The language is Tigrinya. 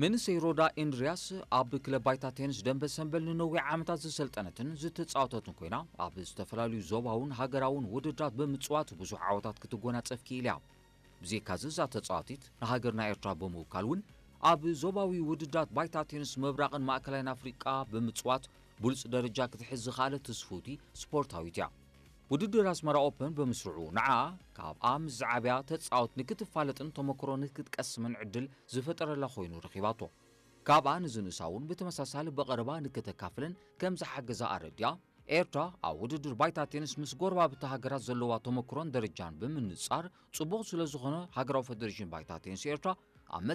መንእሰይ ሮዳ ኤንድሪያስ ኣብ ክለብ ባይታ ቴኒስ ደንበ ሰንበል ንነዊሕ ዓመታት ዝሰልጠነትን ዝተጻወተትን ኮይና፣ ኣብ ዝተፈላለዩ ዞባውን ሃገራውን ውድድራት ብምጽዋት ብዙሕ ዓወታት ክትጎናጸፍ ክኢላ እያ። ብዘይካዚ እዛ ተጻዋቲት ንሃገርና ኤርትራ ብምውካል እውን ኣብ ዞባዊ ውድድራት ባይታ ቴኒስ ምብራቕን ማእከላይን ኣፍሪቃ ብምጽዋት ብሉጽ ደረጃ ክትሕዝ ዝኸኣለት ትስፍውቲ ስፖርታዊት እያ። ውድድር ኣስመራ ኦፐን ብምስርዑ ንዓኣ ካብኣ ምስ ዝዓብያ ተጻወት ንክትፋለጥን ተመክሮ ንክትቀስምን ዕድል ዝፈጠረላ ኮይኑ ረኺባቶ። ካብኣ ንዝንእሳ እውን ብተመሳሳሊ ብቐረባ ንክተካፍልን ከም ዝሓገዛ ኣረዲኣ፣ ኤርትራ ኣብ ውድድር ባይታ ቴኒስ ምስ ጎረባብቲ ሃገራት ዘለዋ ተመክሮን ደረጃን ብምንጻር ጽቡቕ ስለ ዝኾነ ሃገራዊ ፈደሬሽን ባይታ ቴኒስ ኤርትራ